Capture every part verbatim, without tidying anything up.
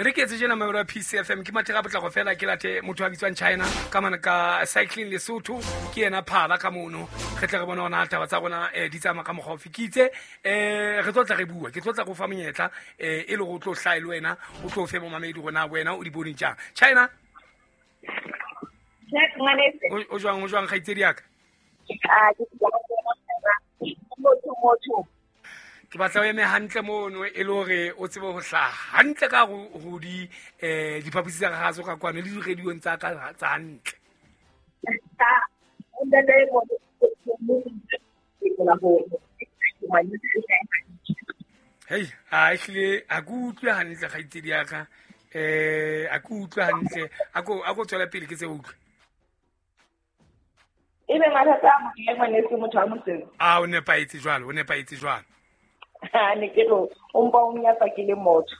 Re ke etse tjena mamelo ya P C F M ke matheka potlako fela ke late motho a bitswang China ka mane ka cycling Lesotho ke yena phala ka mono re tle re bona hona taba tsa rona eh, di tsamaya ka mokgwa ofe. Ke itse eh re tlo tla re bua ke tlo tla go fa monyetla eh e le go tlo hlae le wena o tlo fe momamedi rona wena o di boneng jang. China o jwang o jwang kgaitsedi ya ka? Ah ke motho motho ke batla o eme hantle mono e le hore o tsebe ho hlaha hantle ka ho di eh diphaposi tsa gaso ka kwano le di-radiong tsa ka tsa hantle. Hei, a ehlile a ke utlwe hantle kgaitsedi ya ka, eh a ke utlwe hantle, a ko a ko tswela pele ke tse utlwe. Ebe mathata a motho ngwaneso motho wa mosebetsi. A o nepahetse jwalo, o nepahetse jwalo. Ne ke re o mpa o nyatsa ke le motho.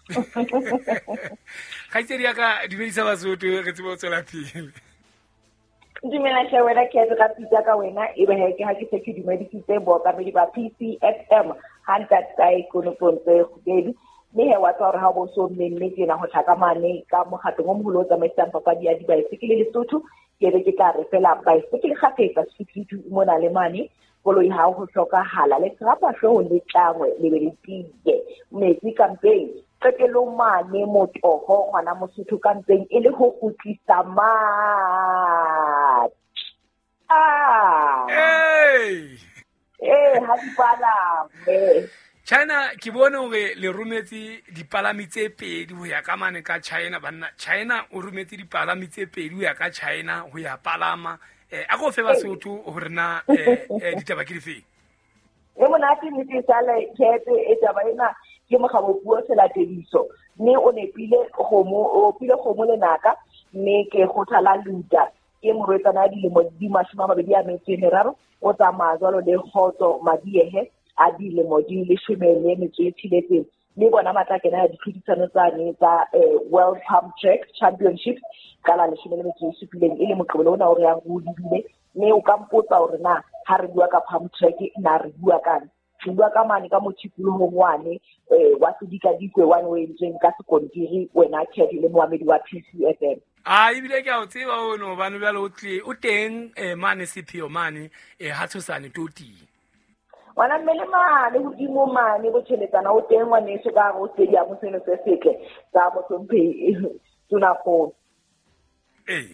Kgaitsedi ya ka dumedisa Basotho re tsebe ho tswela pele. Dumela hle wena ke ka pitsa ka wena ebe he ke ha ke se ke dumedisitse bookamedi ba P C F M ha ntatae konopong tse kgubedi. Mme he wa tswa hore ha bo so mmemme tjena ho tla ka mane ka mokgatlo o moholo o tsamaisang papadi ya dibaesekele Lesotho ke be ke tla re fela baesekele kgafetsa setutu mona le mane koloi ha ho hlokahala le serapa hlooho le tlangwe le be le tiye metsi kampeng qetellong mane motoho ngwana Mosotho kampeng e le ho kgutlisa matla. Hey eh ha di palame. China ke bone hore le rometse dipalami tse pedi ho ya ka mane ka China banna. China o rometse dipalami tse pedi ho ya ka China ho ya palama. Eh a go fe Basotho hore na eh ditaba ke difeng? E monate nnete sale kete e taba ena ke mokgabo puo selatediso mme o nepile kgomo o pile kgomo lenaka mme ke kgothala luta ke morwetsana dilemo di mashome a mabedi a metso e meraro o tsamaya jwalo le kgotso Madiehe a dilemo di leshome le metso e tsheletseng mme bona ba tla kena ditlhodisano tsane tsa World Pump Track Championships ka la leshome le metso e supileng e le Moqebelo ona o re yang ho lebile. Mme o ka mpotsa hore na ha re bua ka pump track na re bua kang? Re bua ka mane ka mothipolohong wane wa sedikadikwe wane o entsweng ka sekontiri wena Kedi le moamedi wa P C F M. A ebile ke a o tseba ono hobane jwale o tle o teng mane sepheo mane ha tshosane toting. Ngwana mmele mane hodimo mane botjheletsana o teng ngwaneso ka hare ho stadium seno se setle sa Mohlomphehi Tonakgolo. Ee.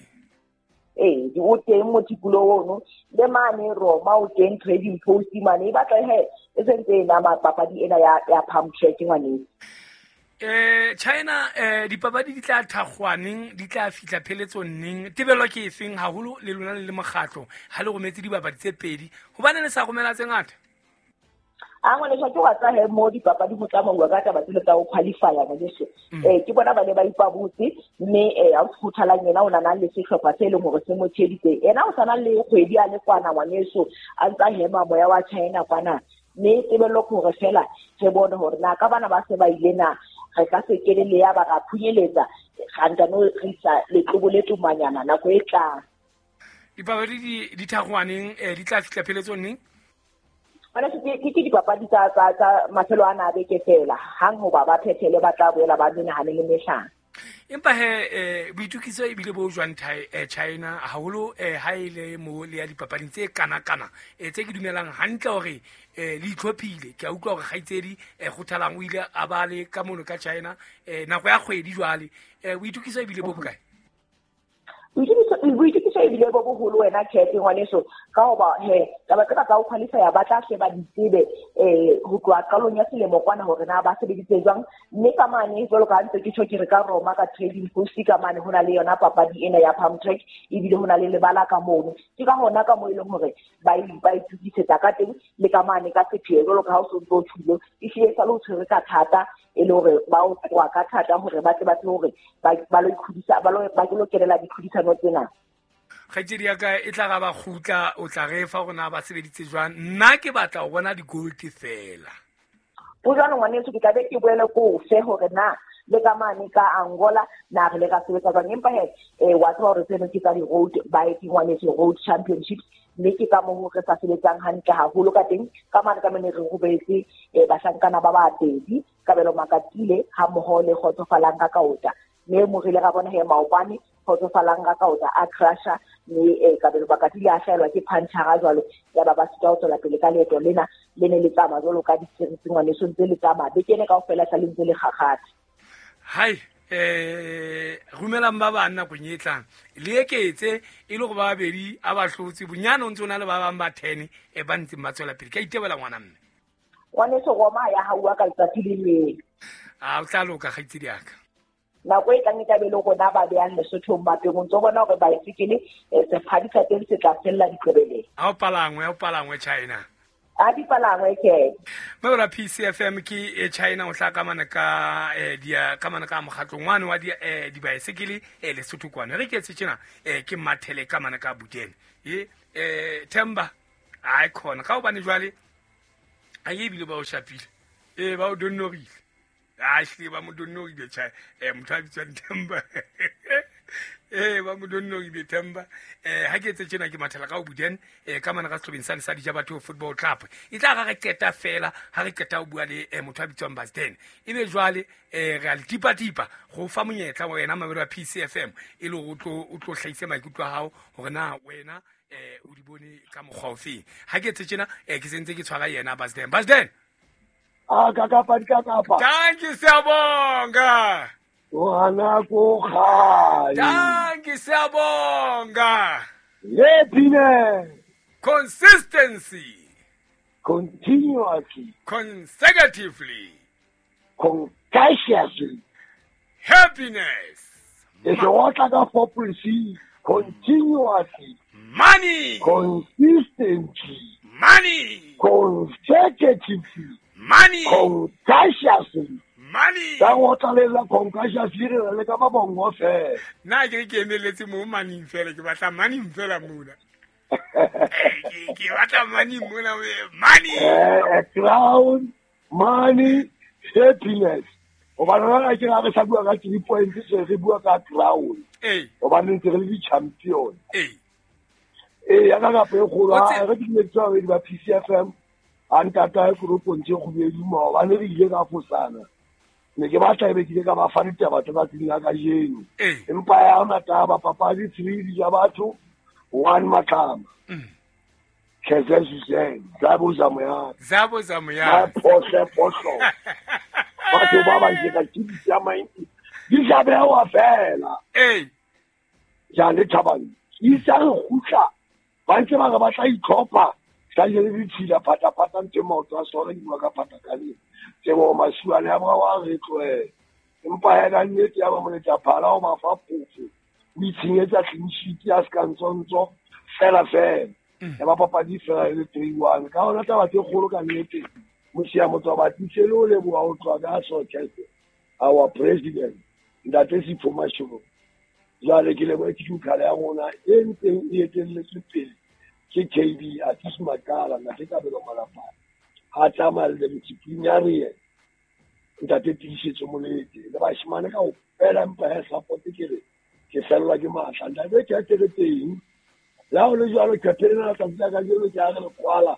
Ee, o teng mothipolo ono le mane Roma o teng trading post mane e batla he e sentse e nama papadi ena ya ya pump track ngwaneso. Eh China eh dipapadi di tla thakgwaneng di tla fihla pheletsong neng tebelo ke efeng haholo le lona le le mokgatlo ha le rometse dibapadi tse pedi hobane le sa romela tse ngata? A ngwaneso ke wa tsa he mo dipapadi ho tsamauwa ka taba tsele tsa ho qualify ngwaneso. Eh ke bona ba ne ba ipabotse mme eh a kgothalang yena o nana le sehlopha se leng hore se mo tsheditse yena o sana le kgwedi a le kwana ngwaneso a ntsa hema moya wa China kwana mme tebello ke hore fela re bone hore na ka bana ba se ba ile na re ka se kene le ya ba ra phunyeletsa ra ntano re isa letlobo le tumanyana nako e tlang. Dipapadi di di thakgwaneng di tla fihla pheletsong neng? Ke ke dipapadi tsa tsa tsa mafelo a na beke fela hang hoba ba phethele ba tla boela ba menahane le mehlano. Empa he eh boitukiso ebile bo jwang China haholo eh ha ile mo le ya dipapading tse kana kana eh tse ke dumelang hantle hore eh le itlhophile ke a utlwa hore kgaitsedi eh kgothalang o ile a ba le ka mono ka China eh nako ya kgwedi jwale eh boitukiso ebile bo bokae? Boitukiso ebile bo boholo wena Kete ngwaneso ka hoba he taba tsena tsa ho qualify ba tla hle ba di tsebe eh ho tloha qalong ya selemo kwana hore na ba sebeditse jwang mme ka mane jwalo ka ntse ke tjho ke re ka Roma ka trading post ka mane ho na le yona papadi ena ya pump track ebile ho na le lebala ka mono ke ka hona ka mo e leng hore ba ba itukisetsa ka teng le ka mane ka sepheo jwalo ka ha o so ntso tshilo e hlile sa le o tshwere ka thata e le hore ba o tloha ka thata hore ba tle ba tsebe hore ba ba lo ikhudisa ba lo ba lo kenela ditlhodisano tsena. Kgaitsedi ya ka e tla ga ba kgutla o tla re fa rona ba sebeditse jwang nna ke batla ho bona di-gold fela. Bo jwalo ngwaneso ke tla be ke boele ko fe hore na le ka mane ka Angola na re le ka sebetsa jwang, empa he eh wa tseba hore tseno ke tsa di-road bike ngwaneso, road championships, mme ke ka moo re sa sebetsang hantle haholo ka teng. Ka mane ka mane re robetse bahlankana ba babedi, Kabelo Makatile ha mmoho le Kgotsofalang ka Kaota, mme mo re ile ra bona he maobane Kgotsofalang ka Kaota a crasha, mme Kabelo Makatile a hlaelwa ke punchara jwalo, ya ba ba sitwa ho tswela pele ka leeto lena le ne le tsamaya jwalo ka ditshirisi ngwaneso, ntse le tsamaya beke ena kaofela sa le ntse le kgakgatha. Hai eh rumelang ba bang nakong e tlang le eketse e le go ba babedi a ba hlotse bonyane o ntse o na le ba bang ba ten e ba ntseng ba tswela pele. Ke a itebela ngwana mme. Ngwaneso Roma ya hauwa ka letsatsi le leng. A o tla loka kgaitsedi ya ka. Nako e tlang e tla be le rona ba behang Lesothong mapeng, o ntso bona hore baesekele sephadi sa teng se tla fella diqebeleng. Ha o palangwe, ha o palangwe China. A di palangwe ke. Mabra P C F M ke e China o tla ka mana ka eh dia ka mana ka mokgatlo ngwane wa di eh dibaesekele eh Lesotho kwana. Re ke etse tjena eh ke mathele ka mana ka Butene. E eh Themba ai khona ka hobane jwale a ye bile ba o shapile. Eh ba o donnorile. A hle ba mo donnorile cha eh motho a bitswang Themba. Eh ba mo donnorile Themba. Eh ha ke etse tjena ke mathela ka o Butene eh ka mana ka sehlobeng sa Lesadi ja batho Football Club. E tla ra re qeta fela ha re qeta ho bua le eh, motho a bitswang Basden. Ebe jwale eh re a le tipa tipa go fa monyetla wena mabelo a P C F M e le o tlo o tlo hlahise maikutlo a hao hore na wena eh o di bone ka mokgwa ofe. Ha ke etse tjena eh ke sentse ke tshwara yena Basden. Basden. Ah ka kapa di ka kapa. Thank you siyabonga. Ngwana ko gae. Thank you siyabonga. Happiness. Consistency. Continuously. Consecutively. Concassiously. Happiness. It's what I got for proceed. Continuously. Money. Consistently. Money. Consecutively. Money. Concassiously. Money. Ka go tlalela concassiously re le ka ba bongo fela. Nna ke ke emeletse mo money fela, ke batla money fela mona. Ke ke batla money mona, money. Eh crown, money, happiness. O ba rona ke ra re sa bua ka three points se re bua ka crown. Eh. O ba ntse re le di champion. Eh. Eh ya ka ka pe go ra re di metswa re di ba P C F M. A ntata e koropontse go bedi maobane re ile ka fosana. Ne ke batla ebe ke ile ka ba fa ditaba tsa tsatsing la kajeno. Empa ya hona taba papadi three di ja batho one matlama. Keze Suzanne, Zabo Zamoya. Zabo Zamoya. Pohle pohle. Batho ba ba ke ka tshitsa maintsi. Di ja bewa fela. Eh. Ja le thabang. Isa re khutla. Ba ntse ba re ba tla itlhopha. Ka le le ditshila pata pata ntse maoto a sona ke bua ka pata ka le tsebo masuane a ba wa re tloe empa ya ka nnete ya ba moletsa phala o ba fa phofo o itshenyetsa clean sheet ya ska ntsontso fela fela ya ba papadi fela le three one ka hona taba tse kgolo ka nnete mosia motho ba titse le o leboha o tloha ka Socheste our president ntate Sipho Mashego jwale ke leboha ke dukhala ya rona e ntseng e etelletse pele ke K B a tsisa makala na ke kabelo malapa ha tsamaya le disciplinary ntate Tiisetso Molete le bashimane ka o fela mpa ya support ke re ke fellwa ke matla ntate ke a teng la o le jwalo ke phela tsatsi la kajeno ke a re kwala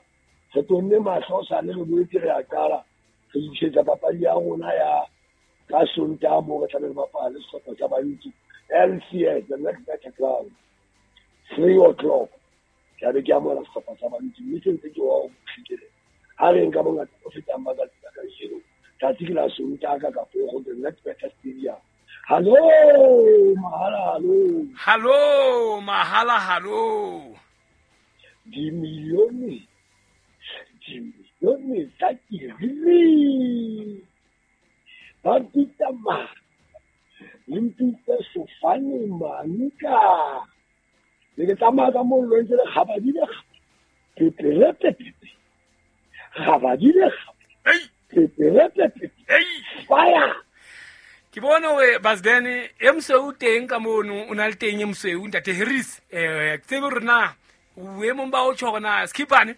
re tonne mahlo sa le re boetse re a qala re isetsa papadi ya rona ya ka Sontaha mo re tla be re bapala le sehlopha sa Bantsi L C S the next better ground three o'clock ke be ke amohela sehlopha sa Bantsi mme se ntse ke wa o fihlile ha re nka bongata bo fetang ba ka kajeno tsatsi ke la Sontaha ka Kapogo the next better stadium. Hallo mahala hallo hallo mahala hallo dimilione dimilione tsa kirili ba mpitsa ma le mpitsa sofane manka le ke tsamaya ka mollo ntse le kgabadile peperepepepe kgabadile peperepepepe fire. Ke bone hore Basden e mosweu teng ka mono o na le teng e mosweu ntate Harris eh ke tsebe hore na boemong ba o tjho hore na Skippane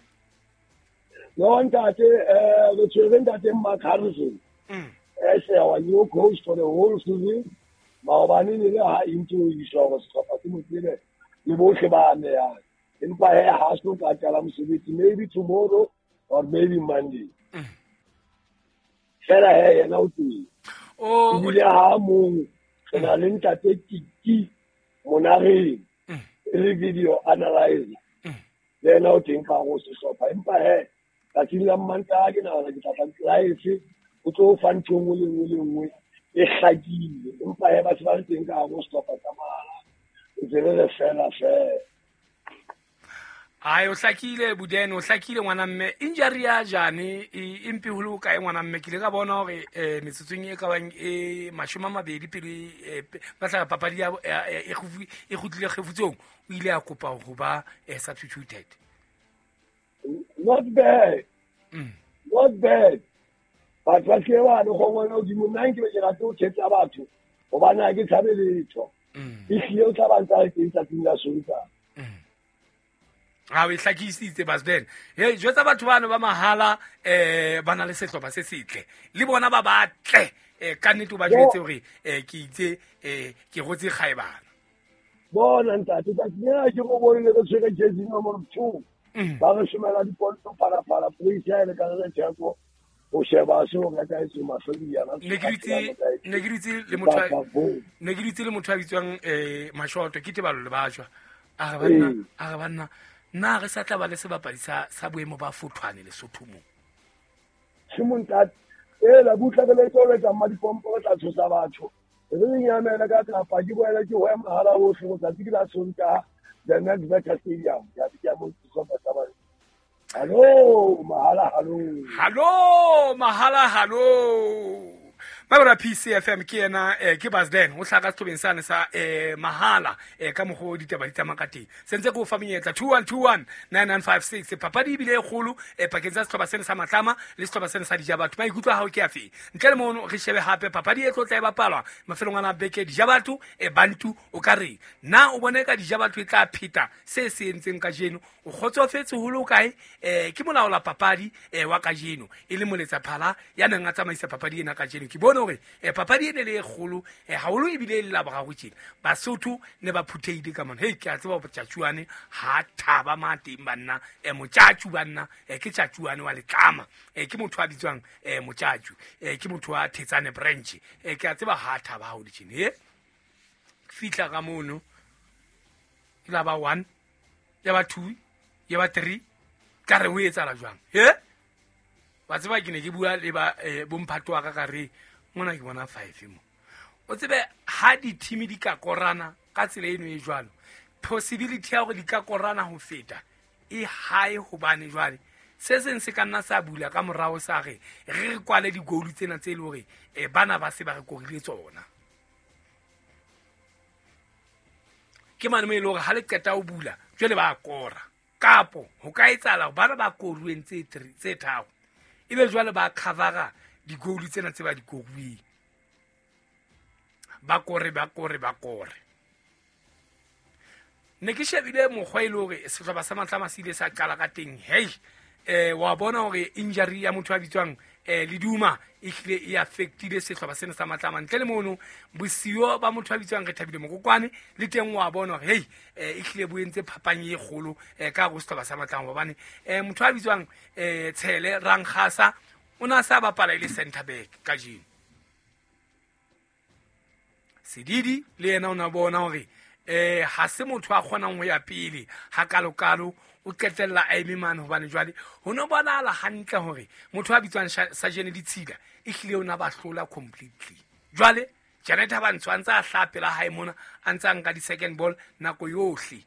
No ntate eh re tshwere ntate Mark Harrison. Mm. As our new coach for the whole season. Maobane ne le ha into iswa go sehlopha se mo tsebe le bohle ba amehang. Empa he ha so ka qala mosebetsi maybe tomorrow or maybe Monday. Mm. Fela he yena o teng. O ebile ha mong re na le ntate Tiki Monareng Mm. e le video analyzer. Mm. Le yena o teng ka go sehlopha empa he tsatsing la Mantaha ke nahana ke tla tla live o tlo fa ntho e nngwe le nngwe le nngwe e hlakile empa he batho ba le teng ka go sehlopha sa mahala ntse re re fela fela. Ai o hlakile Budene o hlakile ngwana mme injury ya jane e empe ho le ho kae ngwana mme ke ile ka bona hore eh metsotsong e ka bang e mashome a mabedi pele eh, pe- ba tla papadi ya ya- ya- e kgufu- e kgutlile kgefutsong o ile a kopa ho ba eh, substituted. Not bad. Mm. Not bad. Batho ba se ba le gongwe godimo nna nke be ke rate ho thetsa batho hobane ha ke tshabe letho. Mm. Ehlile o tla ba ntse a le teng tsatsing la Sontaha. Mm. Ha o e hlakisitse Basden. Hey jwetsa batho bano ba mahala eh ba na le sehlopha se setle le bona ba batle eh ka nnete o ba jwetse hore eh ke itse eh ke rotse kgaebana. Bona ntate tsatsing lena ke go bone le re tshwere jersey number two. Mm. Ba re somela diponto phalaphala police ha e le ka re theko ho sheba seo re ka etsa mahlo diana. Ne ke dutse ne ke dutse le motho a- ne ke dutse le motho a bitswang eh Mashoto ke Tebalo le bajwa a re banna Ee. a re banna nna re sa tla ba le sebapadi sa sa boemo ba fothwane Lesotho mo. Tshimo ntate ela butla ke le tlo etsa mmadipompo re tla tshosa batho. Re re nyamela ka kapa ke boela ke ho ya mahala hohle go tsatsi ke la Sontaha the next better stadium ya ke ya mo sehlopha sa bana. Hallo mahala hallo. Hallo mahala hallo. Mabra P C F M ke yena eh, ke Basden o hlaka sehlobeng sane sa eh, mahala eh, ka mokgwa o ditaba di tsamaya ka teng. Sentse ke o fa monyetla two one two one nine nine five six papadi ebile e kgolo eh, pakeng tsa sehlopha sena sa Matlama le sehlopha sena sa Dijabatho. Maikutlo a hao ke afe? Ntle le mono re shebe hape papadi e tlo tla e bapalwa mafelong ana a beke Dijabatho e Bantu o ka reng? Na o bone ka Dijabatho e tla pheta se se entseng kajeno? O kgotsofetse ho le ho kae? Eh, ke molaola papadi eh, wa kajeno e le moletsa phala ya neng a tsamaisa papadi ena kajeno. Ke bone hore eh, papadi ene le e kgolo eh, haholo ebile e le la boraro tjena. Basotho ne ba phuthehile ka mona. Hei ke a tseba hore Tjatjuane ha thaba ma teng banna eh, Motjatju banna eh, ke Tjatjuane wa Letlama eh, ke motho a bitswang eh, Motjatju eh, ke motho wa Thetsane branch eh, ke a tseba ha thaba haholo tjena. He fihla ka mono e la ba one ya ba two ya ba three ka re ho etsahala jwang? He wa tseba ke ne ke bua le ba eh, bomphato wa ka ka re mona ke bona five mo. O tsebe ha di-team di ka korana ka tsela eno e jwalo possibility ya hore di ka korana ho feta e high hobane jwale se seng se ka nna sa bula ka morao sa re re re kwale di-goal tsena tse e le hore eh, bana ba se ba re korile tsona. Ke mane mo e le hore ha le qeta ho bula jwale ba kora kapo ho ka etsahala hore bana ba koruweng tse three tse tharo ebe jwale ba covera di-goal tsena tse ba di koruweng ba kore ba kore ba kore. Ne ke shebile mokgwa e le hore sehlopha sa Matlama se ile sa qala ka teng. Hei eh wa bona hore injury ya motho a bitswang eh Leduma e hlile e affectile sehlopha sena sa Matlama. Ntle le mono bosiyo ba motho a bitswang re Thabile Mokokwane le teng wa bona hore hei eh e hlile bo entse phapang e kgolo eh ka go sehlopha sa Matlama hobane eh motho a bitswang eh Tshele Rankgasa o na sa bapala e le center back kajeno. Sedidi le yena o na bona hore eh ha se motho a kgonang ho ya pele ha kalokalo o qetella a eme mane hobane jwale ho no bonahala hantle hore motho a bitswang Sajene Ditshila e hlile o na ba hlola completely. Jwale Janet Habantsho a ntse a hlaha pela hae mona a ntse a nka di-second ball nako yohle.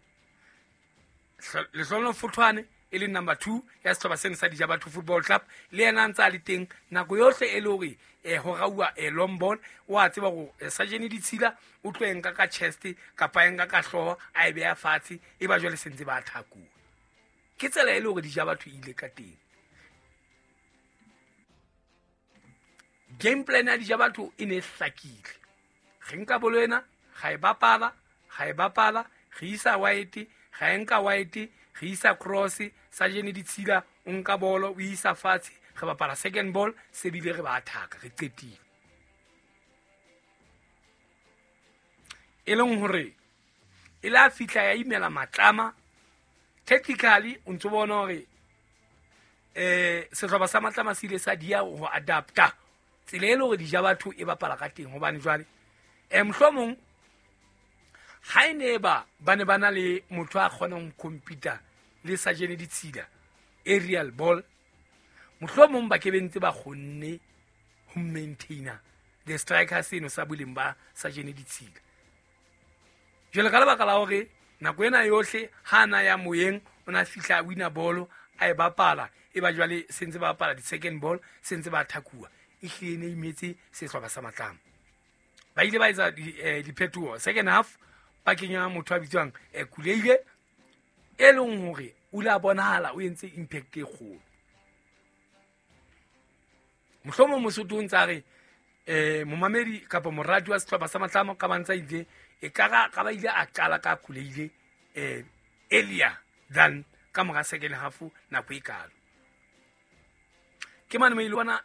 Lehlono Fothwane e leng number two ya sehlopha sena sa Dijabatho Football Club le yena a ntse a le teng nako yohle e le hore eh ho rauwa eh long ball o a tseba hore eh, Sajene Ditshila o tlo e nka ka chest kapa e nka ka hlooho a e beha fatshe e ba jwale sentse ba thakuwa. Ke tsela e le hore Dijabatho e ile ka teng. Game plan ya Dijabatho e ne e hlakile. Re nka bolo ena ga e bapala ga e bapala re isa wide ga e nka wide re isa cross Sajene Ditshila O nka bolo o isa fatshe, re bapala second ball, se bile re ba attack, re qetile. E leng hore e la fihla ya imela Matlama. Tactically o ntso bona hore eh sehlopha sa Matlama se ile sa dia ho adapta tsela e le hore dija batho e bapala ka teng, hobane jwale eh mohlomong ha e ne ba ba ne ba na le motho a kgonang ho compete le Sajene Ditshila aerial ball, mohlomong ba ke bentse ba kgonne ho maintainer the striker seno sa boleng ba Sajene Ditshila. Jwale ka lebaka la hore nako ena yohle ha na ya moyeng o na fihla wina bolo a e bapala, e ba jwale sentse ba bapala di second ball, sentse ba thakuwa, e hlile ne imetse sehlopha sa Matlama. Ba ile ba etsa diphetoho second half, ba kenya motho a bitswang Kuleile, e leng hore o ile a bonahala o entse impact e kgolo. Mohlomong Mosotho o ntse a re eh momamedi kapa moradi wa sehlopha sa Matlama ka bantsa ile e ka ka ba ile a qala ka Kuleile eh earlier than ka mora second half nako e kalo. Ke mane mo ile bona